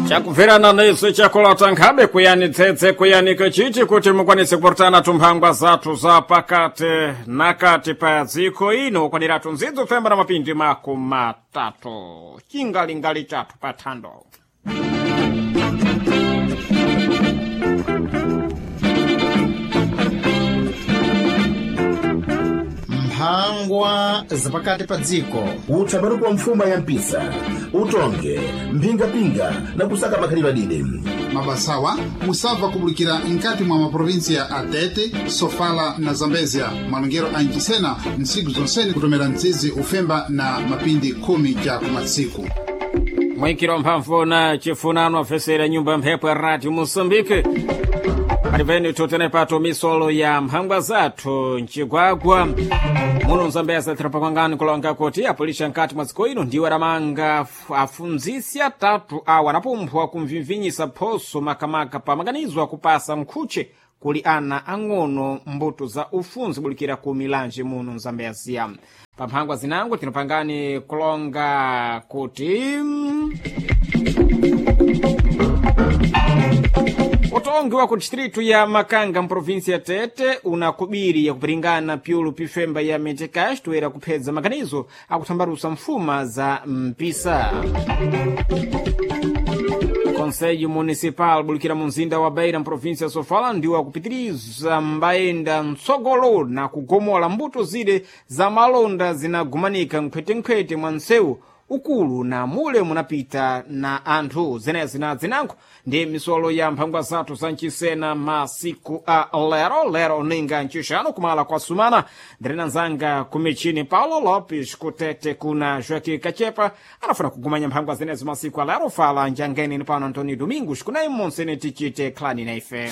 Chakubverana nesu chakulota nkhabe kuyani tsetse kuyanika chichi kuti mukwanise kuportana tumphangwa zathu za pakati nakati pa dziko ino ukwaniratu nzidzo femba na mapindi 30 chingalingali chathu pa thando. Mphangwa zapakati pa dziko. Utsabaruku wa mfuma ya mpisa, utonge mphingapinga na kusaka makhalidwe adide. Mabasawa musabva kubulikira nkati mwa maprovinsia a Tete, Sofala na Zambezia. Malongero a Nchisena ntsiku zonsene kutomera mtsizi ufemba na mapindi 10 ja kumatsiku. Mwikiro mphamvu na chifunano afesera nyumba ya mphepo ya Radio Moçambique. Palipeni tutene pato misolo ya mphangwa zathu mcigwagwa muno mzambeza tirapakwangani kulonga kuti apulisha nkati mwa dziko ino ndiwo adamanga afunzisi atatu awo anapumphwa kumvimvinyisa phoso makamaka pa maganizo akupasa nkhuche kuli ana ang'ono mbuto za ufunzi bulikira ku milanje muno mzambezia. Pa mphangwa zinango tinopangani kulonga kuti utongi wa ku distritu ya Makanga mprovinsi ya Tete una kubiri yakupiringana pyulu pifemba ya Metekash toera kuphedza maganizo akuthambalusa mfuma za mpisa. Conselho Municipal bulikira mu mzinda wa Beira mprovinsi ya Sofala ndiwo akupitiriza mbayenda mtsogolo na kugomola mbuto zile za malonda zinagumanika nkhwetenkhwete mwa msewu ukulu na mule munapita na anthu. Zenezi na zinango ndi misolo ya mphangwa zathu za mchisena masiku a lero lero ninga ncixano kumala kwa sumana. Ndirina nzanga kumichini Paulo Lopes kutete kuna Joaquim Kachepa anafuna kugumanya mphangwa zenezi masiku a lero. Fala njangeni ni pano Antônio Domingos kunayi monsene tichite khlani na ife.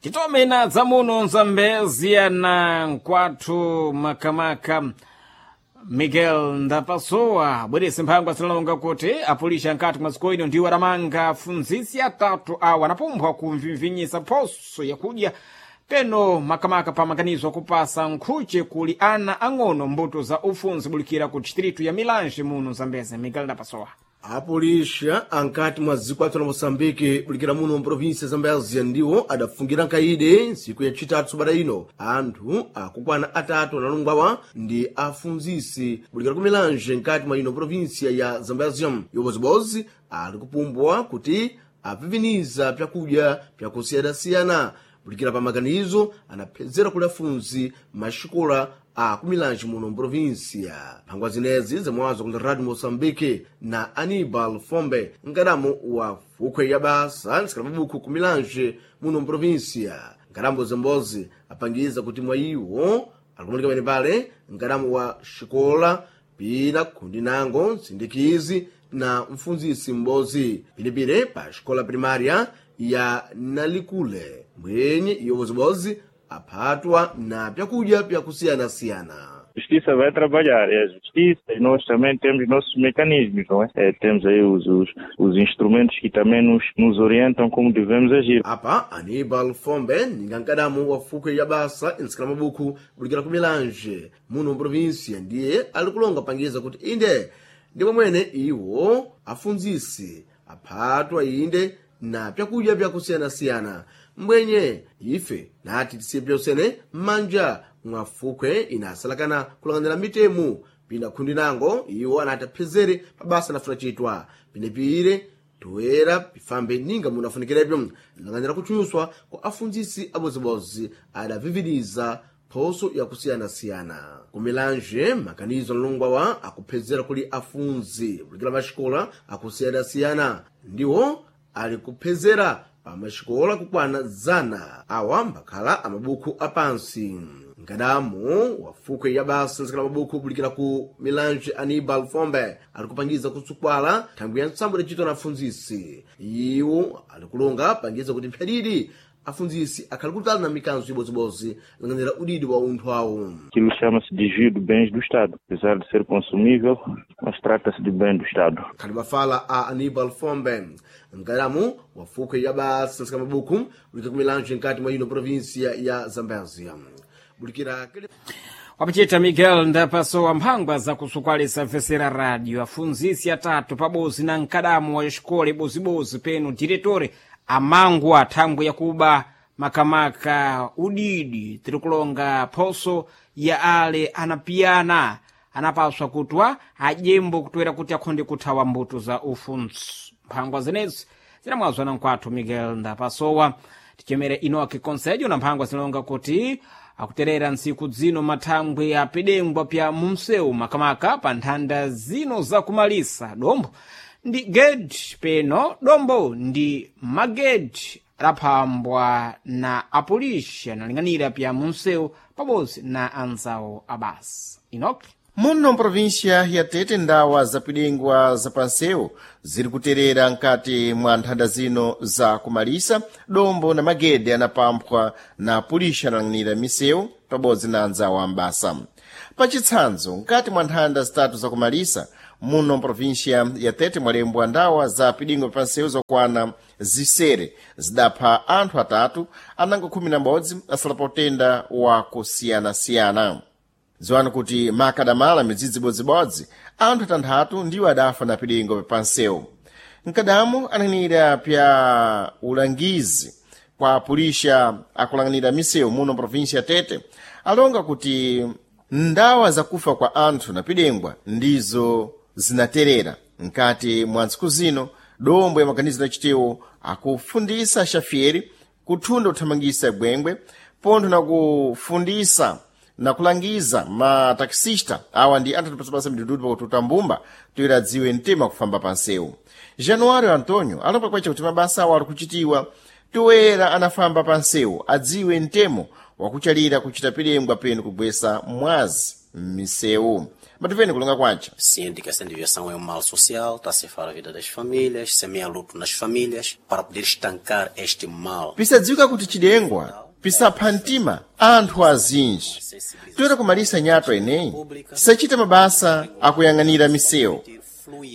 Titomena dzamuno nzambezia na nkwathu makamaka Miguel Ndapasowa bwerese mphangwa zinalonga kuti apulisha nkati mwa dziko ino ndiwo adamanga afunzisi atatu awo anapumbwa kumvimvinyisa phoso yakudya peno makamaka pa maganizo akupasa nkhuche kuli ana ang'ono mbuto za ufunzi bulikira ku distritu ya Milange muno Zambeze. Miguel Ndapasowa. Apulisha ankati mwa dziko athu la Moçambique bulikira muno mprovinsia ya Zambézia ndiwo adafungira nkaide ntsiku yacitatu sabata ino anthu akukwana atatu analungwawa ndi afunzisi bulikira ku Milange nkati mwa ino provinsia ya Zambézia. Iwobozibozi ali kupumbwa kuti apipiniza pyakudya pyakusiyanasiyana bulikira pa maganizo anaphedzera kuli afunzi maxikola a kumilanji muno mprovinsia. Mphangwa zinezi zimwazo kuli Radio Moçambique na Anibal Fombe, nkadamu wa fukhwe ya basa nsikala mabuku ku Milange muno mprovinsia. Nkadambo zembozi apangiza kuti mwa iwo alikumanika pene pale nkadamu wa xikola pina khundi nango nsindikizi na mfunzisi m'bozi pilipile pa xikola primária ya Nalikule mwenye iwo bozibozi aphatwa na pyakudya pyakusiyanasiyana. Justiça vai trabalhar, é a justiça, e nós também temos nossos mecanismos, não é? É, temos aí os instrumentos que também nos orientam como devemos agir. Apa Anibal Fombe ninga nkadamu wa fukhwe ya basa insikala mabuku bulikira ku Milange muno mprovinsia ndiye ali kulonga pangiza kuti inde ndi pomwene iwo afunzisi aphatwa inde na pyakudya pyakusiyanasiyana mbwenye ife nati tisiye pyosene m'manja mwa fukhwe inasalakana kulang'anira mitemu pina khundi nango iwo anati aphezere pa basa anafuna chitwa pinepire toera pifambe ninga munafunikirebyo lang'anira kuchuswa kwa afunzisi abozibozi adaviviriza phoso yakusiyanasiyana. Ku Milange makanizo analongwawa akuphezera kuli afunzi bulikira maxikola akusiyanasiyana ndiwo ali kuphezera pa maxikola kukwana 100 awa mbakhala amabuku apansi. Nkadamu wa fukhwe ya basa nsikala mabuku bulikira ku Milange Anibal Fombe ali kupangiza kutsukwala thangwi ya ntsambo idacitwa na afunzisi. Iwo ali kulonga pangiza kuti mphyadidi Afundzisi akhali kutali na mikanzo ibodzibodzi lang'anira udidi wa unthu awo. Aquilo chama-se desvio de bens do Estado. Apesar de ser consumível, mas trata-se de bem do Estado. Khali mafala a Aníbal Fombe, mkalamu wa fuko ya basa nsika mabuku ulika kumilanjo nkati mwa ino província ya Zambézia. Bulikira Wapachita Miguel ndapasowa mphangwa zakusukwalisa mfesera radio afunzisi atatu pabozi na mkadamu wa xikole bozibozi penu diretori amangwa thangwi yakuba makamaka udidi tirikulonga phoso ya ale anapiyana anapaswa kutwa ajembo kutwera kuti akhonde kuthawa mbuto za ufunzi. Mphangwa zenezi zinamwazwa na nkwathu Miguel ndapasowa. Tichemere Inoki Conselho na mphangwa zinalonga kuti akuterera ntsiku dzino mathangwi apidengwa pya mumsewu makamaka pa nthanda zino zakumalisa dombo ndi gedi peno dombo ndi magedi adaphambwa na apolisi analing'anira pya mumsewu pabodzi na anzawo abasa. Inoki. Muno mprovíncia ya Tete, ndawa zapidengwa zapansewu ziri kuterera nkati mwa nthanda zino za kumalisa dombo na magede anapamphwa na pulixa analang'anira misewu pabodzi na anzawo ambasa. Pachitsanzo, nkati mwa nthanda zitatu zakumalisa muno mprovíncia ya Tete mwalembwa ndawa za pidingwa pansewu zokwana zisere zidapha anthu atatu, anango 11 asala pa utenda wa kusiyanasiyana. Dziwani kuti makadamala midzidzi ibodzibodzi anthu atanthatu ndiwo adafa na pilingo pansewu. Mkadamu ananira pya ulangizi kwa pulixa akulang'anira misewu muno mprovíncia ya Tete alonga kuti ndawa zakufa kwa anthu na pidengwa ndizo zinaterera nkati mwa ntsiku zino. Dombo ya maganizo achitewo akufundisa xafieri kuthunda kuthamangisa gwengwe pontho na kufundisa na kulangiza mataxista awa ndi anthu atipasapasa midududu pakututa mbumba toyera adziwe mtima kufamba pansewu. Januário Antônio alomba kwacha kuti mabasa awo ali kuchitiwa toyera anafamba pansewu adziwe mtemo wakuchalira kuchita pilengwa penu kugwesa mwazi m'misewu. Matipeni kulonga kwacha. Ciente que essa desviação é um mal social, está a ceifar a vida das famílias, semeia luto nas famílias, para poder estancar este mal. Pisadziwika kuti chidengwa pisapha mtima anthu azinji toyera kumalisa nyato eneyi sachita mabasa akuyang'anira misewu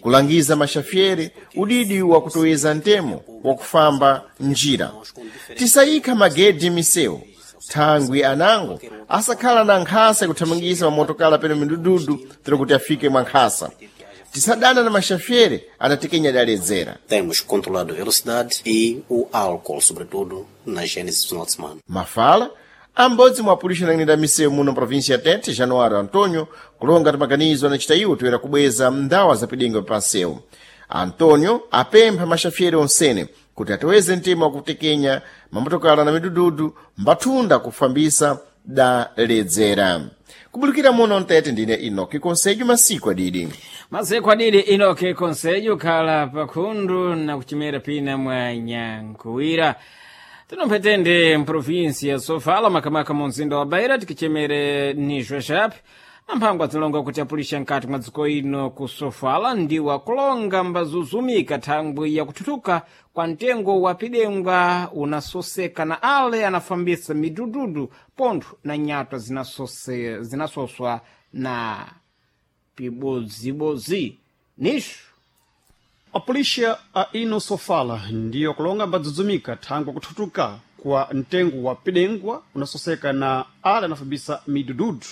kulangiza maxafiere udidi wakutoweza mtemo wakufamba njira tisayikha magedi misewu thangwi anango asakhala na nkhasa yakuthamangisa mamotokala peno midududu tero kuti afike mwa nkhasa. Tisadana na maxafiere anatekenya adaledzera. Temos controlado a velocidade e o álcool, sobretudo na gênese do final de semana. Mafala ambodzi mwa apulixa anang'anira misewu muno mprovíncia ya Tete, Januário Antônio, kulonga timaganizo anachita iwo toyera kubweza ndawa zapidengo pansewu. Antônio apempha maxafiere onsene kuti atoweze mtima wakutekenya mamotokala na midududu mbathunda kufambisa daledzera. Kubulukira muno mtete ndine Inoki Conselho masiku adidi. Masiku adidi Inoki Conselho khala pakhundu na kuchimera pina mwa nyankuwira. Tinomphethende mprovinsi ya Sofala makamaka mu mzinda wa Beira tikichemere nizwe chape na mphangwa zilonga kuti apulixa nkati mwa dziko ino ku Sofala ndiwo akulonga mbazuzumika thangwi yakuthuthuka kwa mtengo wa pidengwa unasoseka na ale anafambisa midududu pontho na nyatwa zinasoswa na pibodzibodzi nixo. A polícia a ino Sofala ndiyo kulonga mbadzudzumika thangwi kuthutuka kwa mtengo wa pidengwa unasoseka na ale anafambisa midududu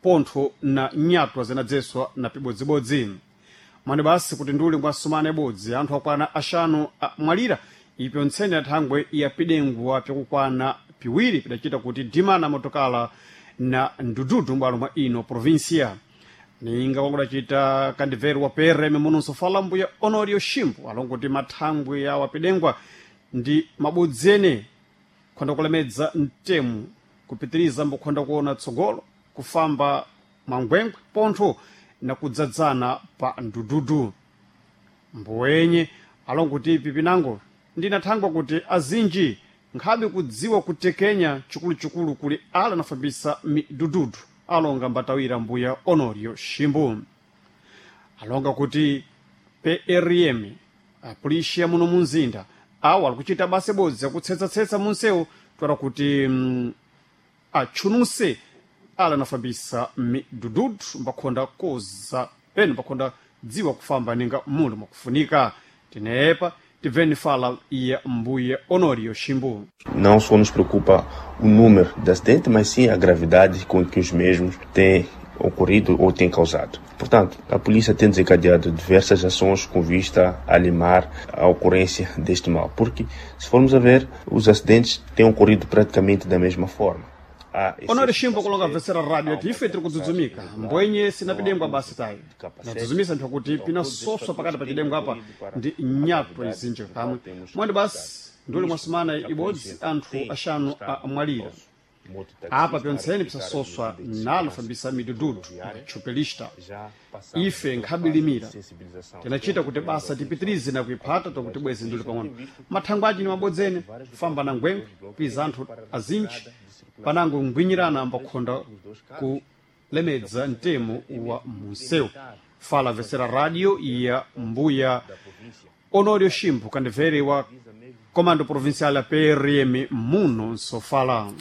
pontho na nyatwa zinadzeswa na pibodzibodzi. Mwani basi kuti nduli mwa sumana ibodzi anthu akwana axanu amwalira ipyo ntsene ya thangwe ya pidengwa pyakukwana piwiri pidacita kuti dimana motokala na ndududu m'bwalo mwa ino província. Ninga kwakudacita kandibveru wa PRM muno Sofala mbuya Honorio Shimbu alongo kuti mathangwe ya wapidengwa ndi mabodzi ene khonda kulemedza mtemu kupitiriza mbukhonda kuona tsogolo kufamba mwangwengwe pontho na kudzadzana pa ndududu. Mbuwenye alongo kuti pipinango ndinathangwa kuti azinji nkhabe kudziwa kutekenya chikuluchikulu kuli ala anafambisa midududu alonga mbatawira mbuya Honorio Shimbu. Alonga kuti PRM apulixa muno munzinda Awa ali kuchita basa ibodzi yakutsetsa-tsetsa munsewu twala kuti atchunuse ala anafambisa midududu mbakhonda koza penu mbakhonda dziwa kufamba ninga muli mwakufunika. Tinepa tibveni fala ya mbuye Honorio Ximbu. Não só nos preocupa o número de acidentes, mas sim a gravidade com que os mesmos têm ocorrido ou têm causado. Portanto, a polícia tem desencadeado diversas ações com vista a limar a ocorrência deste mal, porque, se formos a ver, os acidentes têm ocorrido praticamente da mesma forma. Honore Shimbo kulonga mvetsera radio ati ife tiri kudzudzumika mbwenye sina pidengwa basi tayi nadzudzumisa nthu kuti pina soswa pakati pa chidengwa apa ndi nyatwa izinji kamwe mwandi basi nduli mwasumana ibodzi anthu axanu amwalira apa pyontseni pisasoswa nalo fambisa midududu tchupelista. Ife nkhabilimira tinachita kuti basa tipitirize na kuiphata tokuti bwezi nduli pang'ono mathangwe aci ni mabodzene famba na ngwengwe piza anthu azinji panango ngwinyirana ambakhonda kulemedza mtemo wa munsewu. Fala vesera radio ya mbuya Honorio Shimbu kandivere wa comando provincial ya PRM muno nsofala.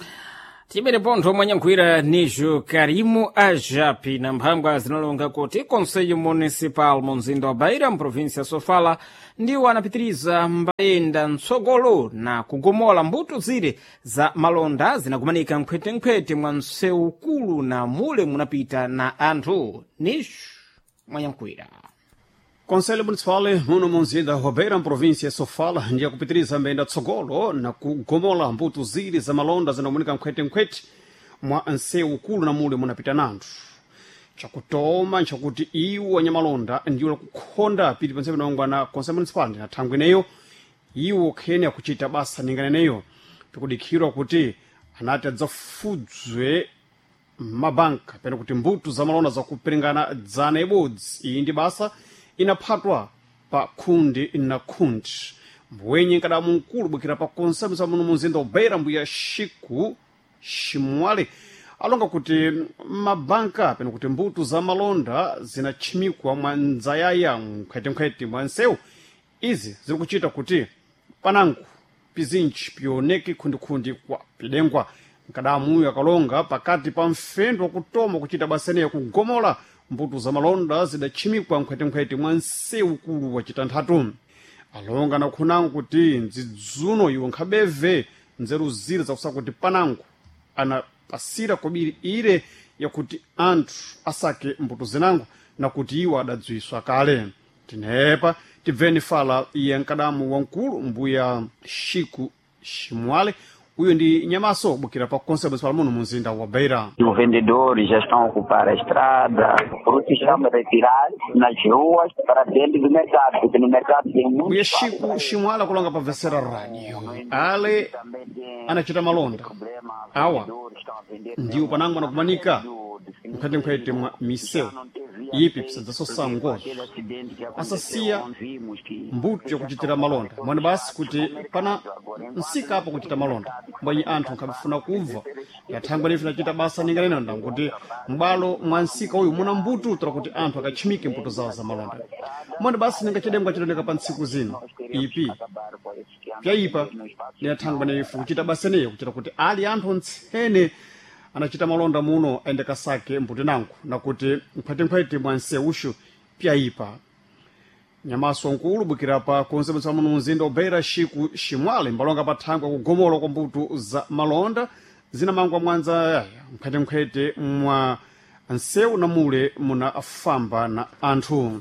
Tibere pontho mwanyankhwira nijo Karimu Ajapi na mphangwa zinalonga kuti Conselho Municipal mu mzinda wa Beira mprovinsia ya Sofala ndiwo anapitiriza mbayenda mtsogolo na kugomola mbuto zire za malonda zinakumanika nkhwetenkhwete mwa msewu ukulu na mule munapita na anthu. Nijo mwanyankhwira. Conselho Municipal muno munzinda wa Beira mprovinsia ya Sofala ndiye kupitiriza mbenda tsogolo na kugomola mbuto ziri za malonda zinamunika nkhwetenkhwete mwa nsewu ukulu na mule munapita nanthu. Chakutoma nchakuti iwo anyamalonda ndiwo kukhonda pili panse panongwa na Conselho Municipal ndi na thangwi ineyo iwo khene akuchita basa ninganeneyo pikudikhirwa kuti anati adzafudzwe mabanka pena kuti mbuto za malonda zakuperingana dzana ibodzi. Iyi ndi basa inaphatwa pa khundi na khundi. Mbwenye nkadamu mkulu bwikira pa konsemusa muno munzinda wa Beira mbuya Xiku Ximwale alonga kuti mabanka pena kuti mbuto za malonda zinatchimikwa mwa ndzayaya nkhwetenkhwete mwa nsewu. Izi ziri kuchita kuti panango pizinji pioneke khundikhundi kwa pidengwa. Nkadamuyo akalonga pakati pa mfendo wakutoma kuchita basa ineyo kugomola mbuto za malonda zidatchimikwa nkhwetenkhwete mwa nsewu ukulu wa chitanthatu. Alonga nakhunango kuti ndzidzuno iwo nkhabeve nzeru zire zakusaka kuti panango anapasira kobiri ire yakuti anthu asake mbuto zinango na kuti iwo adadziwiswa kale. Tinepa tibveni fala iye nkadamu wamkulu mbuya Xiku Ximwale uyo ndi nyamaso bukira pa Conselho Municipal muno munzinda wa Beira. Os vendedores já estão a ocupar a estrada, frutos estão a retirar nas ruas para dentro do mercado, porque no mercado tem muito. Mbuya Xiku Ximwale akulonga pa Vecera Radio ale anachita malonda awa ndiwo panango anakumanika nkhwetenkhwete mwa misewu ipi pisadzasosa ngozo asasiya mbuto yakuchitira malonda mwani basi kuti pana nsika apo kuchita malonda mbwenye anthu nkhabifuna kubva yathangwa nife nachita basa ninganena ndanguti m'bwalo mwa nsika uyu muna mbuto tola kuti anthu akatchimike mbuto zawo za malonda mwani basi ningachidengwa chidoneka pa ntsiku zino ipi pyayipa niyathangwa nife kuchita basa niyo kuchita kuti ali anthu ntsene anachita malonda muno aende kasake mbuto nangu nakuti nkhwetenkhwete mwa nsewuxu pyayipa. Nyamaso nkulu bukira pa konse muno mzinda wa Xiku Ximwale mbalonga pa thangwi akugomola kwa mbuto za malonda zinamangwa mwanza nkhwetenkhwete mwa nsewu na mule munafamba na anthu.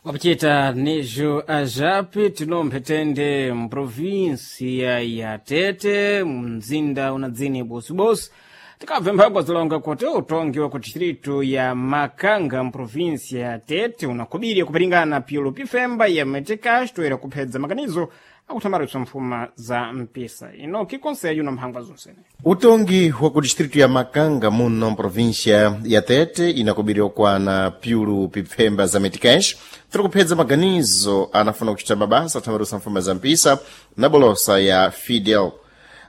Wapichita nijo ajapi tinomphethende mprovinsia ya Tete mzinda unadzini bosibosi tikabve mphangwa zilonga kuti utongi wa ku distrito ya Makanga mprovinsia ya Tete unakubirya kupiringana pyolo pifemba ya metikax toera kuphedza makanizo akuthambaritsa mfuma za mpisa inoki konseyo na mphangwa zonsene. Utongi wa ku distrito ya Makanga muno mprovíncia ya Tete inakubiriwa kwana pyulu pipfemba za meticais tiri kuphedza maganizo anafuna kuchita mabasa athambaritsa mfuma za mpisa na bolosa ya Fidel.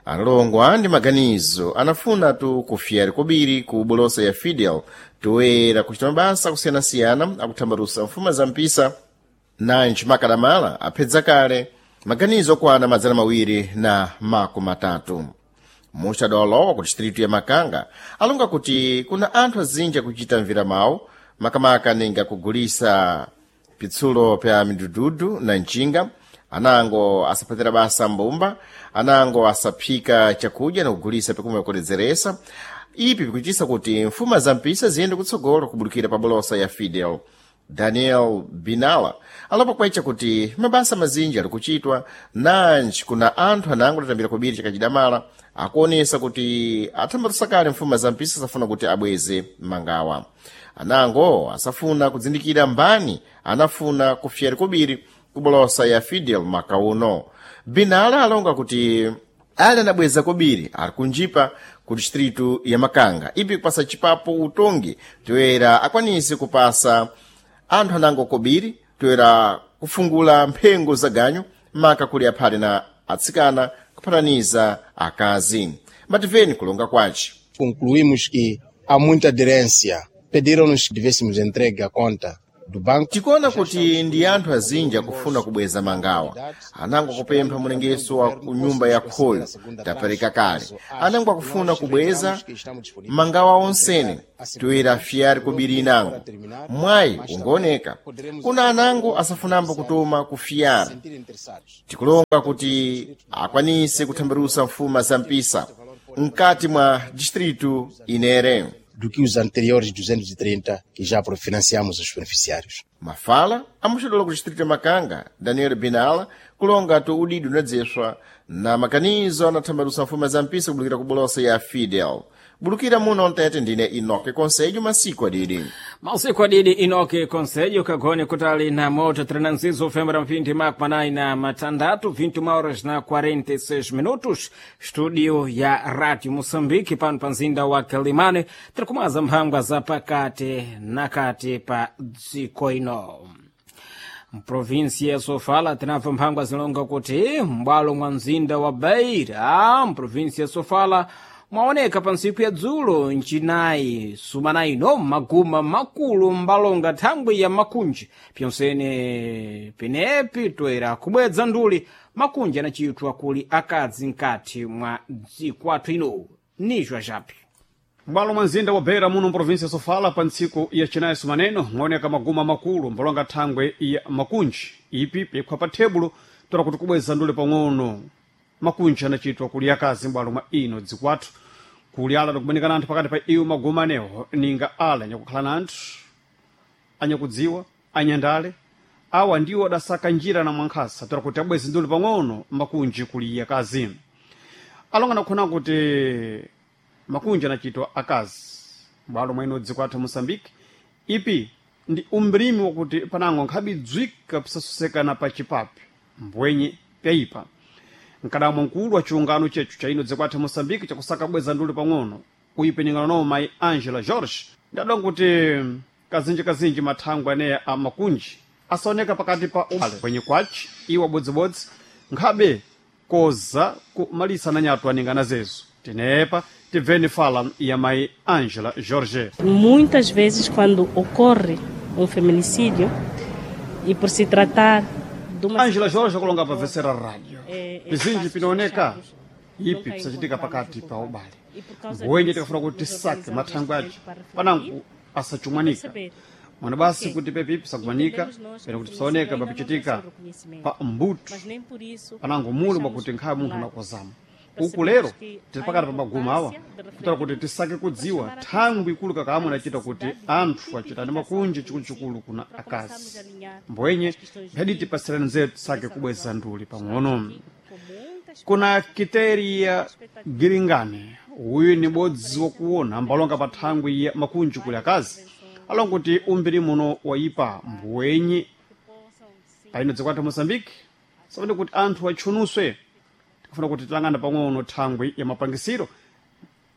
Analongwa ndi maganizo anafuna tu kufiyari kobiri ku bolosa ya Fidel toera kuchita mabasa akusiyanasiyana akuthambarusa mfuma za mpisa nanji makadamala aphedza kale Maganizo okwana 230. Muxadolowa ku distritu ya Makanga alonga kuti kuna anthu azinji akuchita mviramawu, makamaka ninga kugulisa pitsulo pya midududu na mcinga, anango asaphatira basa mbumba, anango asaphika chakudya na kugulisa pikumwe kuledzeretsa. Ipi pikuchitisa kuti mfuma za mpisa ziyende kutsogolo kubulukira pa bolosa ya Fidel. Daniel Binala alopa kwecha kuti mabasa mazinji ali kuchitwa nanji kuna anthu anango atatambira kobiri chakachidamala akuonesa kuti athambatisa kale mfuma za mpisa safuna kuti abweze mangawa. Anango asafuna kudzindikira mbani anafuna kufyera kobiri kubolosa ya Fidel maka uno. Binala alonga kuti ali anabweza kobiri ali kunjipa ku distritu ya Makanga, ipi kupasa chipapo utongi toyera akwanise kupasa anthu anango kobiri toyera kufungula mphengo za ganyu maka kuli aphale na atsikana kuphataniza akazi. Mativeni kulonga kwace. Concluímos que há muita aderência. Pediram-nos que devêssemos entregue a conta do banco. Tikuona kuti ndi anthu azinji akufuna kubweza mangawa. Anango akupempha mulengeso wa ku nyumba ya khoyo tapereka kale. Anango akufuna kubweza mangawa onsene toyera fiyari kobiri inango. Mwayi ungooneka kuna anango asafunambo kutoma ku fiyari. Tikulonga kuti akwanise kuthambirusa mfuma za mpisa mkati mwa distritu inere do que os anteriores 230 que já financiamos os beneficiários. Mafala amuxodola ku distrito ya Makanga, Daniel Binala, kulonga tu udidi unadzeswa na makanizo anathambalusa mfuma za mpisa kubulukira ku bolosa ya Fidel. Bulukira muno mtete ndine Inoke Conselho masiku adidi. Mausiku adidi Inoke Conselho kagone kutali na moto 36 fembra mpindi makmanai na matandatu 21 horas na 46 minutos, studio ya Radio Moçambique pano pa mzinda wa Quelimane, tiri kumaza mphangwa za pakati na kati pa dziko ino. Mprovinsi ya Sofala tinamva mphangwa zilonga kuti m'bwalo mwa mzinda wa Beira mprovinsi ya Sofala mwaoneka pa ntsiku ya dzulo ncinayi sumana ino maguma makulu mbalonga thangwi ya makunji pyonsene penepi toera kubwedza nduli makunji anachitwa kuli akadzi mkati mwa dziko athu ino nizwa japi. M'bwalo mwa mzinda wa Beira muno mprovinsi ya Sofala pa ntsiku ya chinayi sumaneno mwaoneka maguma makulu mbalonga thangwe ya makunji ipi pikhwa pa thebulo tola kuti kubweza ndule pang'ono makunji anachitwa kuli akazi m'bwalo mwa ino dzikwathu kuli ala ndikumanikana anthu pakati pa iwo maguma anewo ninga ala anyakukhala na anthu anyakudziwa anyandale awa ndiwo adasaka njira na mwankhasa tola kuti abweze ndule pang'ono makunji kuli akazi. Alonga nakhona kuti makunji anachitwa akazi m'bwalo mwa ino dzikwathu Moçambique ipi ndi umbrimi wakuti panango nkhabidzwika pisasosekana pa chipapi mbwenye pyayipa. Mkadamwa mkulu wa chiungano chechu cha ino dzikwathu Moçambique chakusaka bweza ndule pang'ono kuipenengana nawo mayi Angela George ndadonga kuti kazinji mathangwe aneya a makunji asaoneka pakati pa ubale kwenye kwachi iwo abodzibodzi nkhabe koza kumalisa nanyatu aningana zezo. Tenepa tibveni fala ya mayi Angela George. Muitas vezes quando ocorre feminicídio e por se tratar de uma Angela George akulonga pa vesera rádio pizinji pinaoneka ipi pisachitika pakati pa ubale mbwenye tikafuna kuti tisake mathangwe acho panango asachumwanika mwana basi kuti pepi pisakumanika pena kuti pisaoneka papichitika pa mbuto panango mulu mwakuti nkhaye munthu anakozama uku lero tili pakati pa maguma awa kutala kuti tisake kudziwa thangwi ikulu kakamwe anachita kuti anthu achitane makunji chikuluchikulu kuna akazi mbwenye mphedi tipasirani nzeru tisake kubweza nduli pang'ono. Kuna Kiteria Giringane uyu ni bodzi wakuona ambalonga pa thangwi ya makunji kuli akazi alonga kuti umbiri muno wayipa mbwenye paino dzikwathu Moçambique sapano kuti anthu atchunuswe tikufuna kuti tilangana pang'ono thangwi ya mapangisiro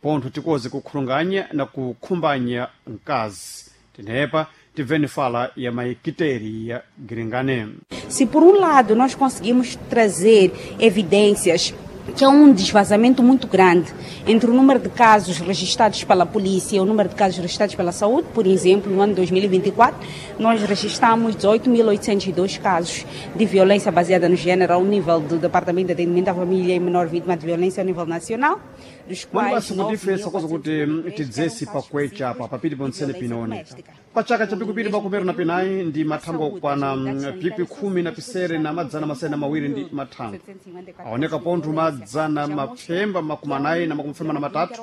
pontho tikoze kukhulunganya na kukhumbanya mkazi. Tenepa tibveni fala ya maikiteri ya Giringane. Se por lado nós conseguimos trazer evidências Que há desvazamento muito grande entre o número de casos registrados pela polícia e o número de casos registrados pela saúde. Por exemplo, no ano 2024, nós registramos 18.802 casos de violência baseada no gênero ao nível do Departamento de Atendimento à Família e Menor Vítima de Violência ao nível nacional, dos quais Mani basi kuti ife sakoza kuti tidzesi pakwecha apa papiri ponsene pinooneka pa chaka cha pikupiri pakumero na pinayi ndi mathango okwana pikwi khumi na pisere na madzana masere na mawiri ndi mathango aoneka pontho madzana mapfemba makumi anayi na makumi fema na matatu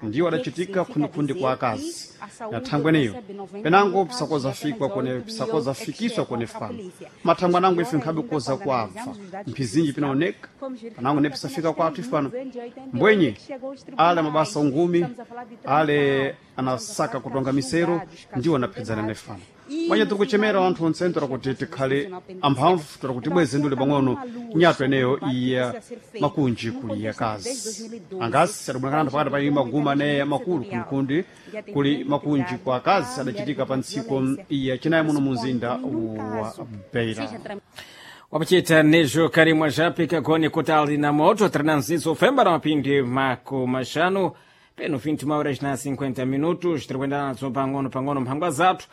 ndiwo adachitika khundikhundi kwa akazi na thangwe eneyo penango pisakozafikwa kone pisakozafikiswa kone fano mathangwe anango ife nkhabe koza kwabva mphizinji pinaoneka panango ne pisafika kwathu ife pano mbwenye ale mabasa ungumi ale anasaka kutonga misero ndiwo anaphedzana nefano mwenye tiri kuchemera anthu onse tora kuti tikhale amphamvu tora kuti bweze ndule pang'ono nyato eneyo iya makunji kuli yakazi angasi adabonekana pakati pa maguma ane makulu kunkundi kuli makunji kwa akazi adachitika pa ntsiku iya chinayi muno mumzinda wa Beira. Wapachita nejo karimwa japika goni kutali na moto trananzizo femba na mapindi mako mashanu peno 21 horas na 50 minutos tiri nazo pang'ono pang'ono mphangwa zathu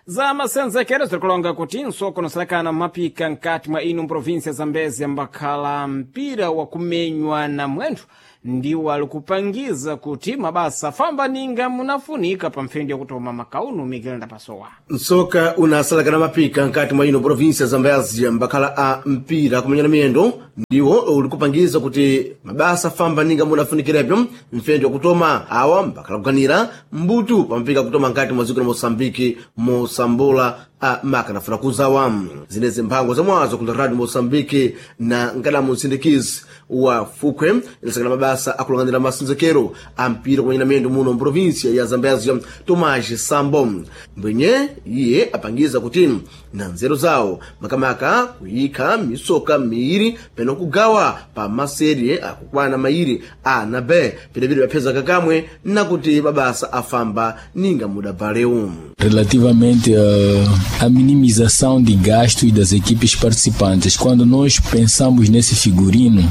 za masenzekero zirikulonga kuti nsoko nosalakana mapika nkati mwa ino mprovinsia Zambezi ambakhala mpira wakumenywa na mwenthu ndiwo ali kupangiza kuti mabasa afamba ninga munafunika pa mphendi yakutoma makauno Miguel Ndapasowa. Nsoka unasalakana mapika nkati mwa ino provinsia Zambezia mbakhala a mpira kumenyana miyendo ndiwo ulikupangiza kuti mabasa famba ninga munafunikirepyo mfendo wakutoma awa mbakhala kuganira mbutu pampika kutoma nkati mwa dziko la Moçambique mosambola a makanafuna kuzawa zinezi mphango zamwazo ku radio Moçambique na nkadamu msindikizi wa Fukwe ilasakana mabasa akulang'anira masenzekero a mpira kumenyana miyendo muno mprovinsia ya Zambezia Tomás Sambo mbwenye iye apangiza kuti na nzeru zawo makamaka kuyikha misoka miiri peno kugawa pa maserie akukwana mairi a na b pilipili papheza kakamwe nakuti mabasa afamba ninga mudabvalewu. Relativamente à minimização de gastos das equipes participantes, quando nós pensamos nesse figurino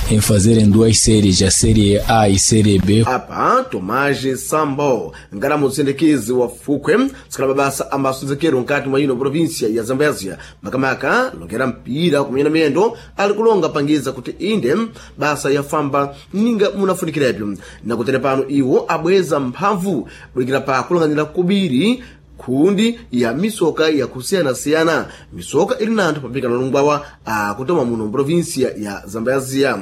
em fazer em duas séries, a série A e série B. Apa Tomás Sambo ngala mutsindikizi wa Fukwe sikala mabasa amasenzekero nkati mwa ino provinsia ya Zambezia makamaka longera mpira kumenyana miyendo ali kulonga pangiza kuti inde basa yafamba ninga munafunikirepyo nakutere pano iwo abweza mphamvu bulikira pa kulang'anira kubiri khundi ya misoka yakusiyanasiyana misoka ili nanthu pamphika nalungwawa akutoma muno mprovinsia ya Zambezia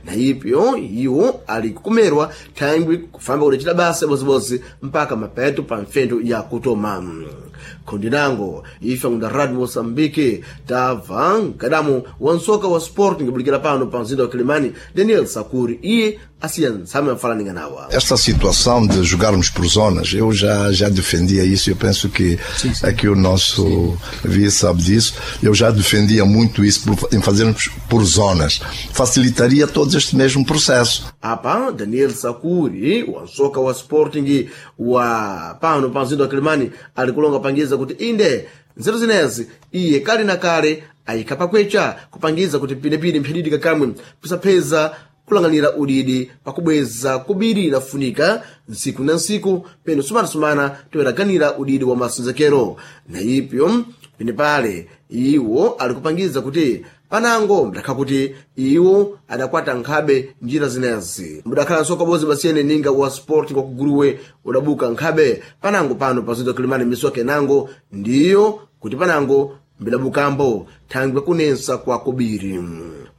na ipyo iwo ali kukumerwa thangwi kufamba kudacita basa bozibozi mpaka mapeto pa mfendo ya kutoma khundi nango ife ngunda radio Moçambique tabva mkadamu wa nsoka wa sport ngibulikira pano pa mzinda wa Kilimani Daniel Sakuri iye asiya ntsame mfalaninga nawa. Esta situação de jogarmos por zonas, eu já defendia isso, eu penso que sim, sim. Aqui o nosso vice sabe disso, eu já defendia muito isso, em fazermos por zonas. Facilitaria todo este mesmo processo. Apa, Daniel Sakuri, wa nsoka wa Sporting wa pano pa mzinda wa Kilimani, alikulonga pangiza kuti inde nzeru zinezi iye kale na kale ayikha pakwecha kupangiza kuti pinepine mphididi kakamwe pisapheza kulang'anira udidi pakubweza kubiri inafunika ntsiku na ntsiku peno sumanasumana toyeraganira udidi wa masenzekero na ipyo pene pale iwo ali kupangiza kuti panango mdakha kuti iwo adakwata nkhabe njira zinezi mudakhala nsoka bodzi basiyene ninga wa sport kwa kuguruwe udabuka nkhabe panango pano pazinda Kilimani misoka enango ndiyo kuti panango mbidabukambo thangwe kunensa kwa kubiri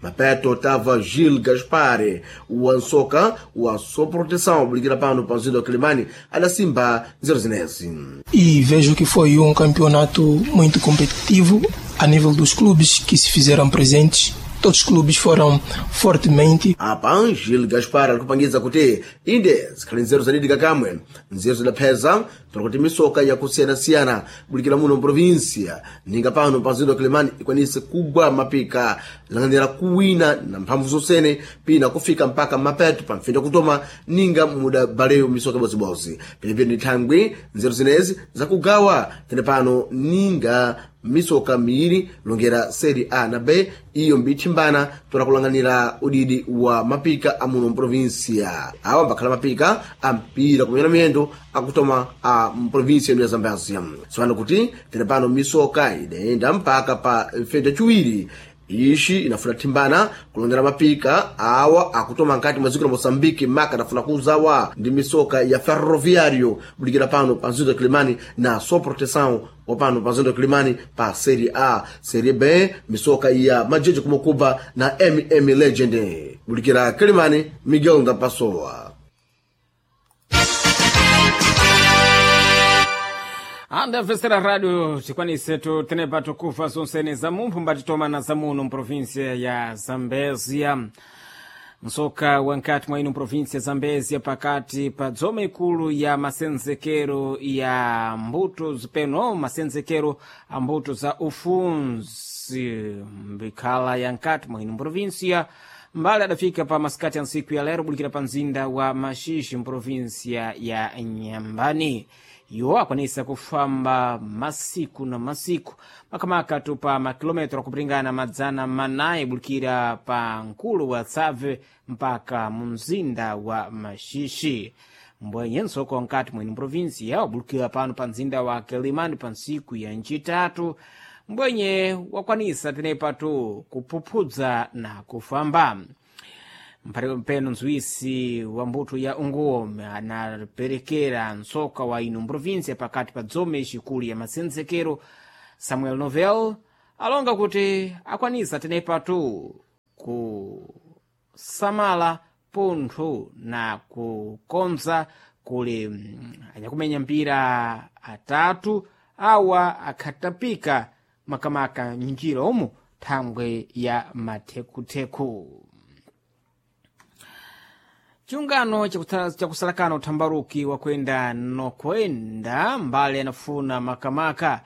mapeto tava Gil Gaspare wa nsoka wa soproteção bulikira pano pa mzinda wa Kilimani adasimba nzeru zinezi. E vejo que foi campeonato muito competitivo a nível dos clubes que se fizeram presentes. Todos os clubes foram fortemente. Apa Gil Gaspar alikupangiza kuti inde zikhali nzeru zadidika kamwe nzeru zidapheza kuti misoka yakusiyanasiyana bulikira muno mprovinsia ninga pano pa mzinda wa Kilimani ikwanise kugwa mapika lang'anira kuwina na mphamvu zosene pina kufika mpaka mapeto pa mfendo kutoma ninga muda baleyo misoka bozibozi penepene ndi thangwi nzeru zinezi zakugawa tene pano ninga Misoka miiri longera Serie A na B iyo mbithimbana tola kulanganira udidi wa mapika amuno mprovinsia. Awa mbakhala mapika a mpira kumenya miyendo akutoma a mprovinsia ino ya Zambezia. Tsopano kuti tili pano misoka idayenda mpaka pa feda chiwiri ixi inafuna thimbana kulongera mapika awa akutoma nkati mwa dziko la Moçambique, maka adafuna kuzawa ndi misoka ya Ferroviário bulikira pano pa mzinda wa Kilimani na So Proteção wa pano pa mzinda wa Kilimani pa Serie A. Serie B misoka ya Majeje Kumokuba na Legend bulikira Kilimani. Miguel Ndapasowa. Andamvesera rádio tikwanise tenepa tukufa zonsene za mumphu mbatitoma za muno mprovinsia ya Zambezia. Msoka wa nkati mwa ino mprovinsia ya Zambezia pakati pa dzoma ikulu ya masenzekero ya mbuto zipeno masenzekero a mbuto za ufunzi mbikhala ya nkati mwa ino mprovinsia mbali adafika pa masikati ya ntsiku ya lero bulikira pa mzinda wa Maxixi mprovinsia ya Nyambani. Iwo akwanisa kufamba masiku na masiku makamaka tu pa makilometro akupringana 400 bulikira pa mkulu wa Tsave mpaka mu mzinda wa Maxixi. Mbwenye nsoko nkati mwene mprovinsia wabulikira pano pa mzinda wa Kilimani pa ntsiku ya ncitatu mbwenye wakwanisa tenepatu kuphuphudza na kufamba mpeno nzuwisi wa mbuto ya unguome anaperekera nsoka wa ino mprovinsia pakati pa dzome xikulu ya masenzekero Samuel Novel alonga kuti akwanisa tenepatu kusamala pontho na kukonza kuli anyakumenya mpira atatu awa akhatapika makamaka njira umu thangwe ya mathekutheku. Chiungano chakusalakana uthambaruki wakwenda nokwenda mbali anafuna makamaka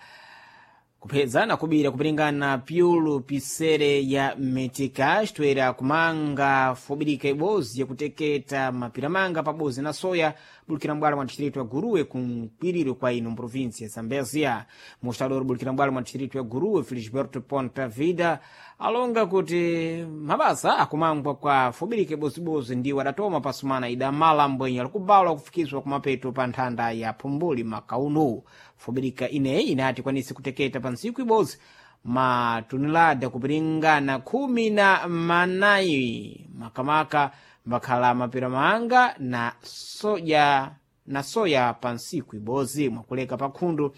kupeza na kubira kupiringana pyulu pisere ya metika xitoera kumanga fobirika ibozi yakuteketa mapiramanga pabozi na soya bulikira mbwala mwa distrito ya Guruwe kunkwiriro kwa ino mprovinsia ya Zambezia. Mostador bulikira mbwala mwa distrito ya Guruwe Felisberto Ponta Vida alonga kuti mabasa akumangwa kwa fobirika ibozibozi ndiwo adatoma pasumana idamala mbwenye alikubalwa kufikizwa kumapeto pa nthanda ya phumbuli makauno. Fobirika ineyi inati kwanise kuteketa pa ntsiku ibozi matunilada kupiringana 14 makamaka mbakhala mapiramanga na soja na soya pa ntsiku ibozi mwakuleka pa khundu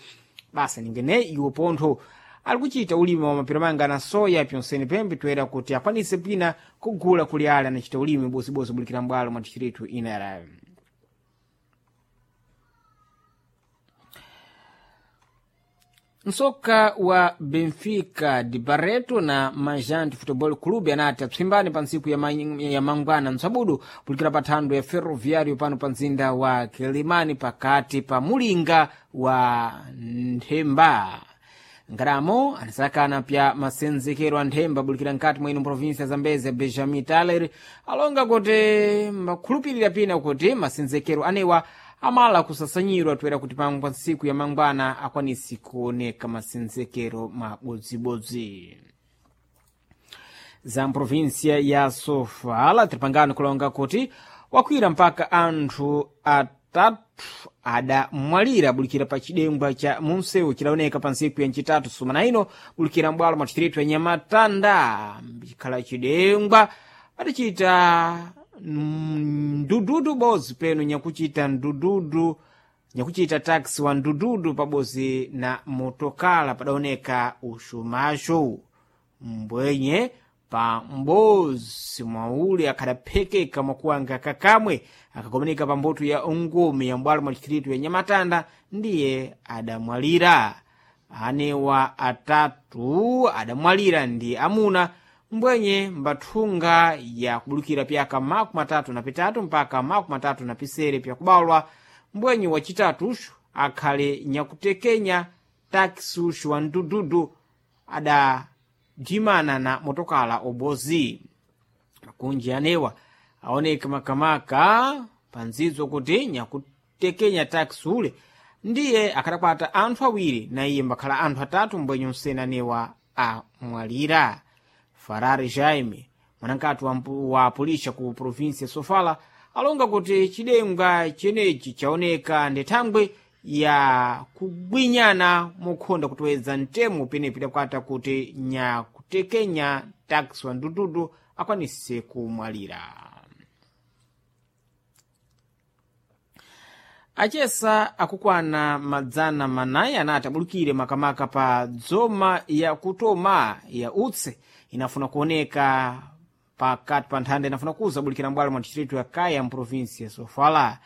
basa ningene iwo pontho ali kuchita ulimi wa mapiramanga na soya pyonsene pembe toera kuti akwanise pina kugula kuli ale anachita ulimi bozibozi bulikira mbwalo mwa distritu inera. Msoka wa Benfica de Barreto na Majante Futebol Clube anati apsimbane pa ntsiku ya mangwana msabudu pulikira pa thando ya Ferroviário pano pa mzinda wa Kilimani pakati pa mulinga wa Nthemba. Ngaramo anasakana pya masenzekero a nthemba bulikira nkati mwa ino provinsia ya Zambezia Benjamin Taler alonga kuti mbakhulupirira pina kuti masenzekero anewa amala kusasanyirwa toera kuti pangwa ntsiku ya mangwana akwanisi kuoneka masenzekero mabodzibodzi. Za mprovinsia ya Sofala tilipangano kulonga kuti wakwira mpaka anthu atatu adamwalira bulikira pa chidengwa cha munsewu chidaoneka pa ntsiku ya ncitatu sumana ino bulikira mbwalo mwa distritu ya Nyamatanda chikhala chidengwa adachita ndududu bozi peno nyakuchita ndududu nyakuchita taxi wa ndududu pabozi na motokala padaoneka uxumaxo mbwenye pa mbozi mwauli akhadaphekeka mwakuwanga kakamwe akakomeneka pa mbuto ya ungumi ya mbwalo mwa distritu ya Nyamatanda ndiye adamwalira. Anewa atatu adamwalira ndi amuna mbwenye mbathunga ya kubulukira pyaka 33 mpaka 37 pyakubalwa mbwenye wacitatuxu akhale nyakutekenya takisi uxu wa mdududu adadimana na motokala obozi. Makunji anewa aoneka makamaka panzidzo kuti nyakutekenya takisi ule Ndiye akadakwata anthu awiri na iye mbakhala anthu atatu mbwenye msenanewa amwalira. Farari Jaime, mwanankati wa pulisha ku provinsi ya Sofala, alonga kuti chidengwa chenechi chaoneka ndi thangwe ya kugwinyana mokhonda kutoweza mtemo penepo idakwata kuti nyakutekenya taxi wa ndududu akwanise kumwalira. Achesa akukwana 400 anati abulukire makamaka pa dzoma ya kutoma ya utse inafuna kuoneka pakati pa nthanda inafuna kuza bulikira mbwalo mwa distritu ya Kaya mprovinsi ya Sofala.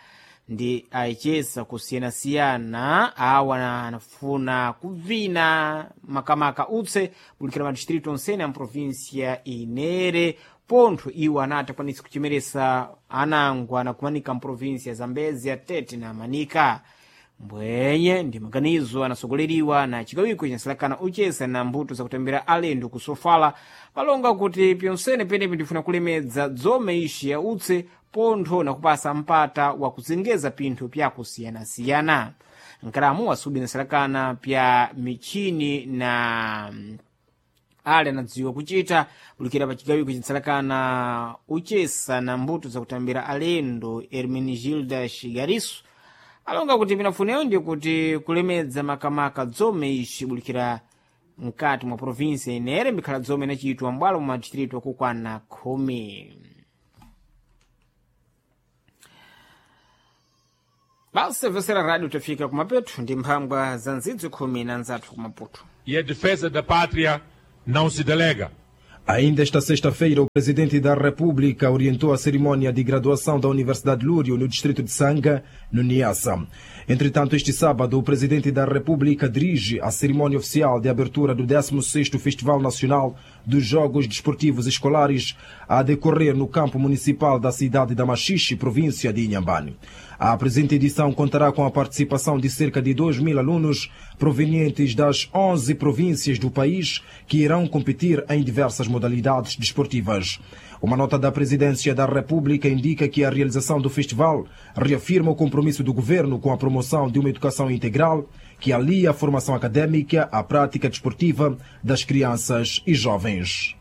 Ndi achesa kusiyanasiyana awa anafuna kuvina makamaka utse bulikira madistritu onsene a mprovinsi ya Inere, pontho iwo anati akwanise kuchemeresa anango anakumanika mprovinsi ya Zambezia, Tete na Manika. Mbwenye ndi maganizo anasogoleriwa na chigawiko chinsalakana uchesa na mbuto zakutembera alendo ku Sofala, palonga kuti pyonsene penepi ndifuna kulemedza dzome ishi ya utse pontho nakupasa mpata wa kuzengeza pinthu pyakusiyanasiyana. Nkalamu wasubi nasalakana pya michini na ale anadziwa kuchita bulikira pa chigawiko chinsalakana uchesa na mbuto zakutambira alendo Hermenegilda Shigarisu alonga kuti pinafuneyo ndi kuti kulemedza makamaka dzome ishi bulikira mkati mwa provinsi inere mbikhala dzome inachitwa mbwalo mwa distritu akukwana 10. Basi vesera radio tafika kumapeto ndi mphangwa za nzidzi 10 na nzathu kumaputo. E a defesa da pátria não se delega. Ainda esta sexta-feira, o presidente da República orientou a cerimônia de graduação da Universidade Lúrio no distrito de Sanga, no Niassa. Entretanto, este sábado, o presidente da República dirige a cerimônia oficial de abertura do 16º Festival Nacional dos Jogos Desportivos Escolares a decorrer no campo municipal da cidade da Machixe, província de Inhambane. A presente edição contará com a participação de cerca de 2 mil alunos provenientes das 11 províncias do país que irão competir em diversas modalidades desportivas. Uma nota da Presidência da República indica que a realização do festival reafirma o compromisso do governo com a promoção de uma educação integral que alia a formação acadêmica à prática desportiva das crianças e jovens.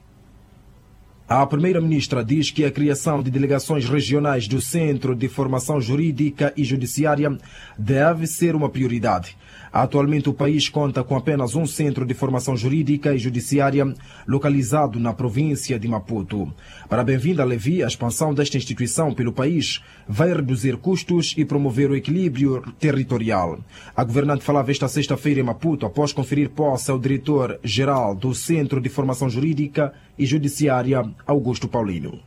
A primeira-ministra diz que a criação de delegações regionais do Centro de Formação Jurídica e Judiciária deve ser uma prioridade. Atualmente, o país conta com apenas um centro de formação jurídica e judiciária localizado na província de Maputo. Para Bem-vinda Levi, a expansão desta instituição pelo país vai reduzir custos e promover o equilíbrio territorial. A governante falava esta sexta-feira em Maputo após conferir posse ao diretor-geral do Centro de Formação Jurídica e Judiciária, Augusto Paulino.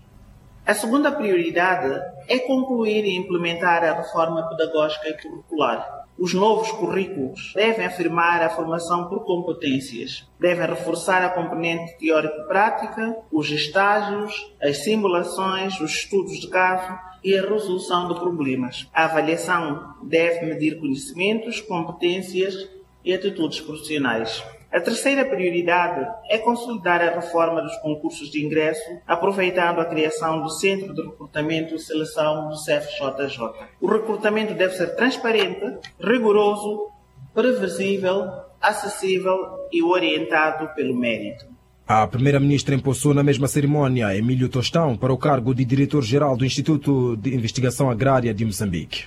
A segunda prioridade é concluir e implementar a reforma pedagógica e curricular. Os novos currículos devem afirmar a formação por competências, devem reforçar a componente teórico-prática, os estágios, as simulações, os estudos de caso e a resolução de problemas. A avaliação deve medir conhecimentos, competências e atitudes profissionais. A terceira prioridade é consolidar a reforma dos concursos de ingresso, aproveitando a criação do Centro de Recrutamento e Seleção do CFJJ. O recrutamento deve ser transparente, rigoroso, previsível, acessível e orientado pelo mérito. A primeira-ministra empossou na mesma cerimônia Emílio Tostão para o cargo de diretor-geral do Instituto de Investigação Agrária de Moçambique.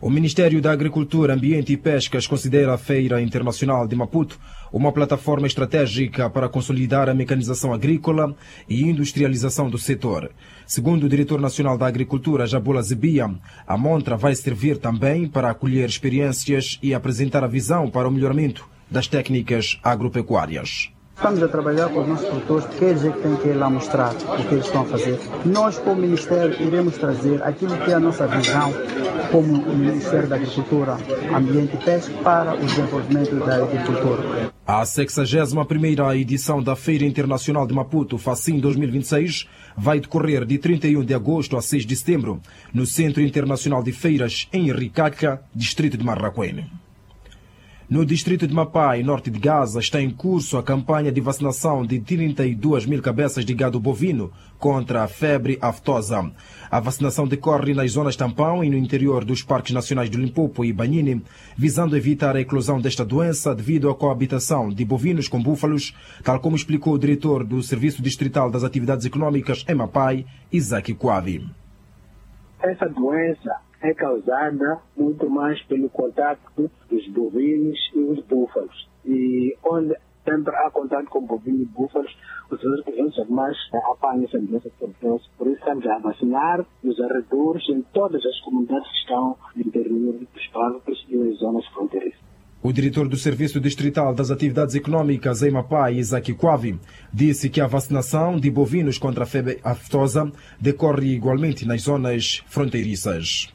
O Ministério da Agricultura, Ambiente e Pescas considera a Feira Internacional de Maputo uma plataforma estratégica para consolidar a mecanização agrícola e industrialização do setor. Segundo o diretor nacional da Agricultura, Jabula Zebia, a montra vai servir também para acolher experiências e apresentar a visão para o melhoramento das técnicas agropecuárias. Estamos a trabalhar com os nossos produtores, porque eles é que têm que ir lá mostrar o que eles estão a fazer. Nós, como Ministério, iremos trazer aquilo que é a nossa visão como Ministério da Agricultura, Ambiente e Pesca para o desenvolvimento da agricultura. A 61ª edição da Feira Internacional de Maputo, FACIM 2026, vai decorrer de 31 de agosto a 6 de setembro, no Centro Internacional de Feiras, em Ricaca, distrito de Marraquene. No distrito de Mapai, norte de Gaza, está em curso a campanha de vacinação de 32 mil cabeças de gado bovino contra a febre aftosa. A vacinação decorre nas zonas tampão e no interior dos parques nacionais do Limpopo e Banhine, visando evitar a eclosão desta doença devido à coabitação de bovinos com búfalos, tal como explicou o diretor do Serviço Distrital das Atividades Econômicas em Mapai, Isaac Kwavi. Essa doença é causada muito mais pelo contato dos bovinos e os búfalos. E onde sempre há contato com bovinos e búfalos, os outros animais apanham essa doença por nós. Por isso estamos a vacinar nos arredores, em todas as comunidades que estão no interior dos parques e nas zonas fronteiriças. O diretor do Serviço Distrital das Atividades Econômicas em Mapai, Isaac Kwavi, disse que a vacinação de bovinos contra a febre aftosa decorre igualmente nas zonas fronteiriças.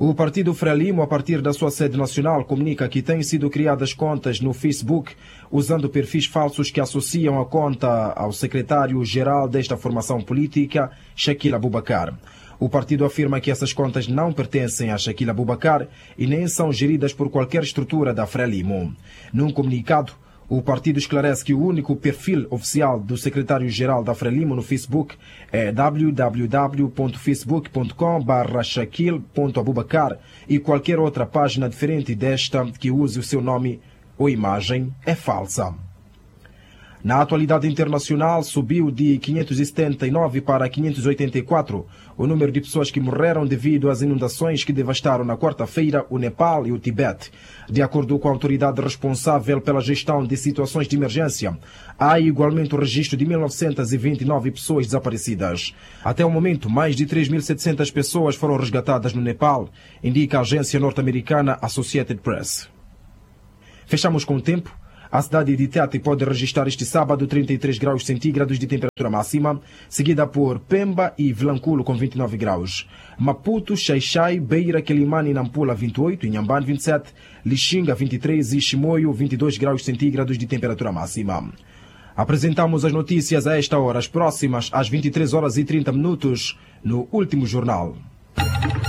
O Partido Frelimo, a partir da sua sede nacional, comunica que têm sido criadas contas no Facebook usando perfis falsos que associam a conta ao secretário-geral desta formação política, Shaquille Abubacar. O partido afirma que essas contas não pertencem a Shaquille Abubacar e nem são geridas por qualquer estrutura da Frelimo. Num comunicado, o partido esclarece que o único perfil oficial do secretário-geral da Frelimo no Facebook é www.facebook.com/shaquille.abubacar e qualquer outra página diferente desta que use o seu nome ou imagem é falsa. Na atualidade internacional, subiu de 579 para 584 o número de pessoas que morreram devido às inundações que devastaram na quarta-feira o Nepal e o Tibete. De acordo com a autoridade responsável pela gestão de situações de emergência, há igualmente o registro de 1.929 pessoas desaparecidas. Até o momento, mais de 3.700 pessoas foram resgatadas no Nepal, indica a agência norte-americana Associated Press. Fechamos com o tempo. A cidade de Tete pode registrar este sábado 33 graus centígrados de temperatura máxima, seguida por Pemba e Vilanculo com 29 graus. Maputo, Xaixai, Beira, Quelimane e Nampula 28, Inhambane 27, Lixinga 23 e Chimoio 22 graus centígrados de temperatura máxima. Apresentamos as notícias a esta hora, as próximas às 23 horas e 30 minutos, no último jornal.